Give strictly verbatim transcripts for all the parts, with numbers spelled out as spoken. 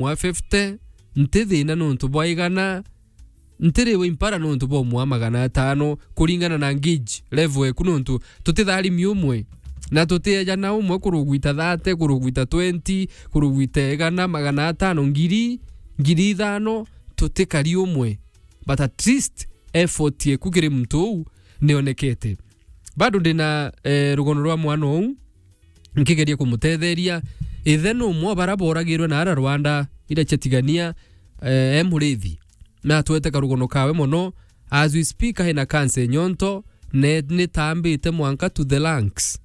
mwa fifty, nti thina nontu bwa igana, ntiriwe impara nontu bwa mwa magana atano, kuringana na gauge level eku, nontu tutitharimi umwe. Na tutiejana umwe kurugwita thirty, kurugwita twenty, kurugwita igana, magana atano, ngiri, ngiri ithano, tutikari umwe. But at least effort eku kiri muntu uu nionekete. Bado ndina, eh, rugono rwa mwana uu, nkigeria kumutetheria. Ithe numwe o bara boragirwe na ara Rwanda, ira cia Tigania, eh, e murithi. Na atwete karugono kawe mono. As we speak, aina cancer nyonto, ne, nitambite mwanka to the lungs.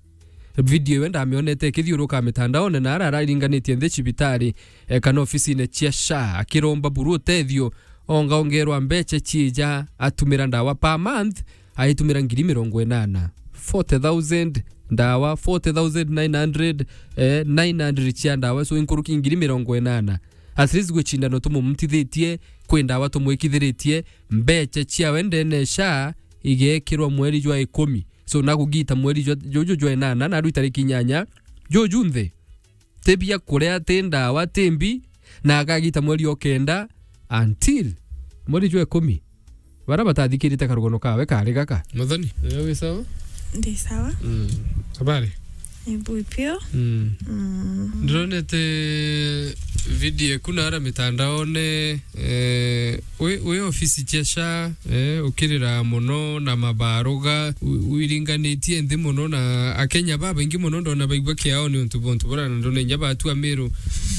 Video iwe ndamionete ikithiuruka mitandaone na ara araringanitie nthi cibitari, eh, kana ofisine cia SHA, akiromba buru utethio, ongaongerwa mbecha ciija, atumira ndawa per month, aitumira ngiri mirongo inana. Forty thousand ndawa, forty thousand nine hundred, eh, nine hundred cia ndawa, so inkuruki ngiri mirongo inana. At least gwi cindano tumumutithitie, kwi ndawa tumwikithiritie, mbecha ciawe ndene SHA igekirwa mweri jwa ikumi. So, na kugita mweri jwa, juju jwa inana, na rwi tariki inyanya, juju nthi. Ti bia kuria, ti ndawa, ti mbi, na akagita mweri o kenda until mweri jwa ikumi. Bara batathikirite karugono kawe kari gaka. Muthoni, wewe wi sawa? Ndi sawa. Mm. Habari? Ni bui pio. Mm. Mm. Ndironete video eku na ara mitandaone, eh, wi, wi ofisi cia SHA, eh, ukirira mono na mabaruga, wi-, wiringanitie nthi mono na Akenya babaingi mono ndona baigua kiao ni untu bwa untu bura na ndona inya batu Amiru,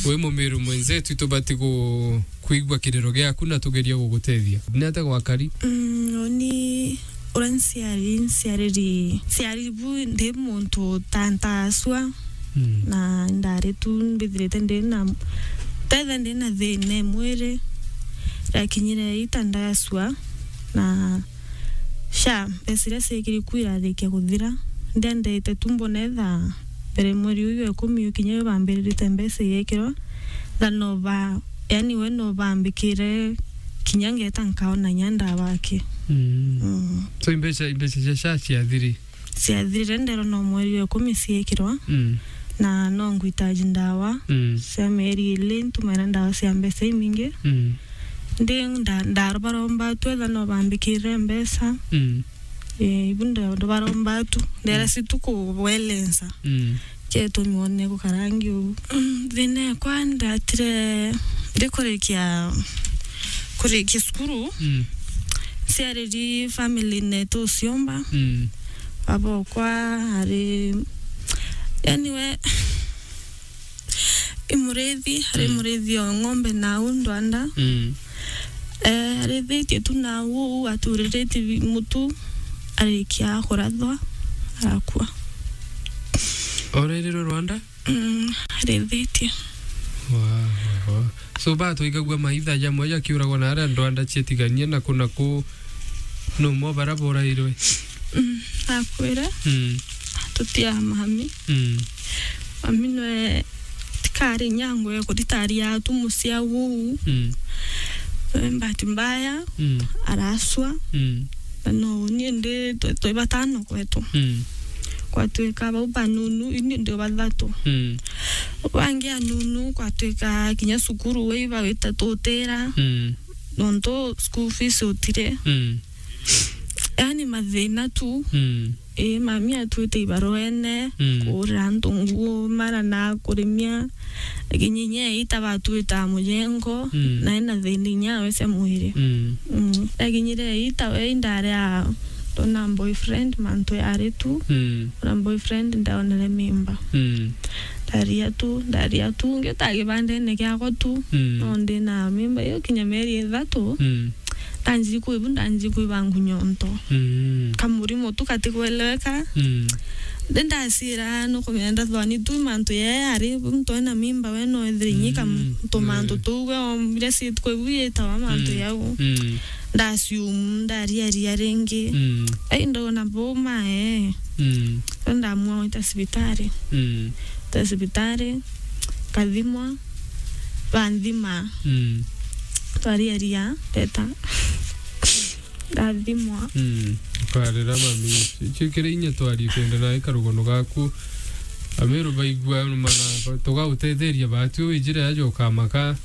wi Mumiru mwenzetu, tubati ku-, kwigua kiriro giaku na tugerie gugutethia. Ni atia gwakari? Mm, uni uria nciari, nciariri, nciari bu ndi muntu ta ntasua. Mm. Na ndari tu mbithirite ndi na, tetha ndi na thina e mwiri. Ndakinyire ita ndasua na SHA, mbeca iria ciekiri ku irarikia kuthira. Ndiendete tu mbona etha mbere mweri uyu wa ikumi ukinya, bambirite mbeca igekirwa, tha no ba, yani, we no bambikire kinya ngeta nkaona inya ndawa aki. Mm. Mm. So, imbeca, imbeca cia SHA ciathiri? Ciathirire, nderwa no mweri wa ikumi ciekirwa. Mm. Na no ngwitaji ndawa. Mm. Cia mieri ili, ntumaira ndawa cia mbeca imingi. Mm. Ndi nda-, ndarobaromba tu etha no bambikirire mbeca. Mm. Eh, ibu ndo, ndobaromba tu. Ndera, mm, si tu kuwelensa. Mm. Kietumi wone gukarangi uu. Mm, thina ekwa ndatire ndikurikia, kurikia cukuru. Mm. Ciariri family netu uciomba. Mm. Baba okwa ari, yani we, i murithi, ari, mm, murithi o ng'ombe na au ndwanda. Mm. Eh, arithitie tu na au, aturiritie bi-, mutu, arikia kurathwa, arakua. Orerirwe Rwanda? Mm, arithitie. Wa, wa, wa. So, batwigagua maitha jamwe jakiuragwa na aria ndwanda cietigania na ku na ku, no mo bara borairwe? Mm, akwire. Mm. Tutia mami. Mm. Mami nwe tikari nyango ya kuritaria tu mucia uu. Mm. Eh, bahati mbaya, mm, araswa. Mm. Na no ni ndi twe, twe batano kwetu. Mm. Kwatwika bau banunu, ini ndi bathatu. Mm. Bangi anunu, kwatwika kinya cukuru we iba wita tutira. Mm. Nontu school fees utire. Mm. Yani mathina tu. Mm. Ii, mami atwite ibaruene, mm, kuurira antu nguo, mara na kurimia. Lakini inya ita batwita mujengo, mm, na ena thina inya we cia mwiri. Mm. Mm. Ndakinyire ita we indaria ndona boyfriend mantu yari tu. Mm. Na boyfriend ndaonere mimba. Mm. Ndaria tu, ndaria tu, ngiuta kibandene giakwa tu. Mm. No ndi na mimba iyo kinya mieri ithatu. Mm. Ndanji kwibu, ndanji kwiba ngunyonto. Mm. Kamurimo tu katikweleweka. Mm. Ndi ndacira nukumenya ndathwani tu mantu yee ari muntu ena mimba we no ethire inyika, mm, tumantu, mm, tuu we ombire si kwibu yitawa mantu, mm, yau. Mm. Ndasiumu, ndariaria ringi. Mm. Ai ndona boma ee. Mm. Ndamua gwita cibitari. Mm. Gwita cibitari, nkathimwa, banthima. Mm. Twariaria, ndeta. Ndathimwa. Mm. Ukarira mami. Icio kiri inya twari kwenda na ikarugono gaku. Amiru baigua mana, tugautetheria batu wijire aja ukamaka.